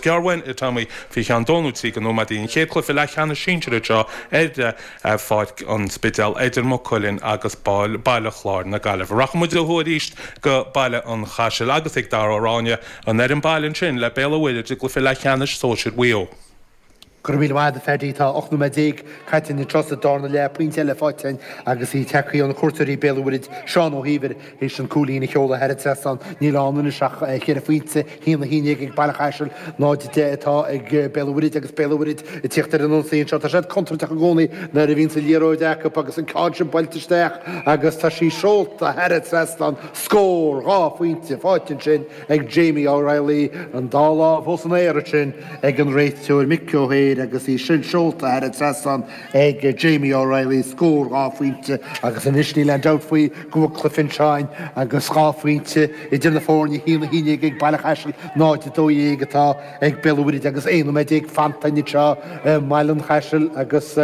gearr uainn, a Tommy, faoi cheann dó nó trí de nóiméadaí. An chéad chluiche leathcheannais sinsir anseo ar Pháirc an Spidéil idir Maigh Cuilinn agus Baile Chláir na Gaillimhe. Rachaidh muid ó thuaidh arís go Baile an Chaisil agus ag Dara Ó Ráinne, an fhoireann baile ansin le Béal Átha Mhuirthide i gcluiche leathcheannais sóisir Mhaigh Eo. Go raibh míle maith agat, a Phaddy. Tá 18 nóiméad caite anseo sa darna leath, pointe eile faighte againn agus í tagtha ó na cuairteoirí Béal Átha Mhuirthide, Seán Ó hÍomhair théis an cúilín a sheoladh thar an trasnán. Níl ann anois ach cheithre phointe, 1-11 ag Baile Chaisil, 0-10 atá ag Béal Átha Mhuirthide agus Béal Átha Mhuirthide ag tíocht ar an ionsaí anseo. Tá siad contúirteach i gcónaí nuair a bhíonns an liathróid acu agus an ceann sin buailte isteach agus tá sí seolta thar an trasnán. Scór dhá phointe faighte ansin ag Jamie O'Reilly, an dá lámh os an aer ansin ag an réiteoir Mick O'Hare agus í sin seolta thar an trasnán ag Jamie O'Reilly, scór dhá phointe agus anois níl aon dabht faoi go bhfuil cluiche anseo againn agus dhá phointe idir na foirne, 1-11 ag Baile Chaisil, 0-12 atá ag Béal Átha Mhuirthide agus 11 nóiméad fanta anseo i mBaile an Chaisil agus.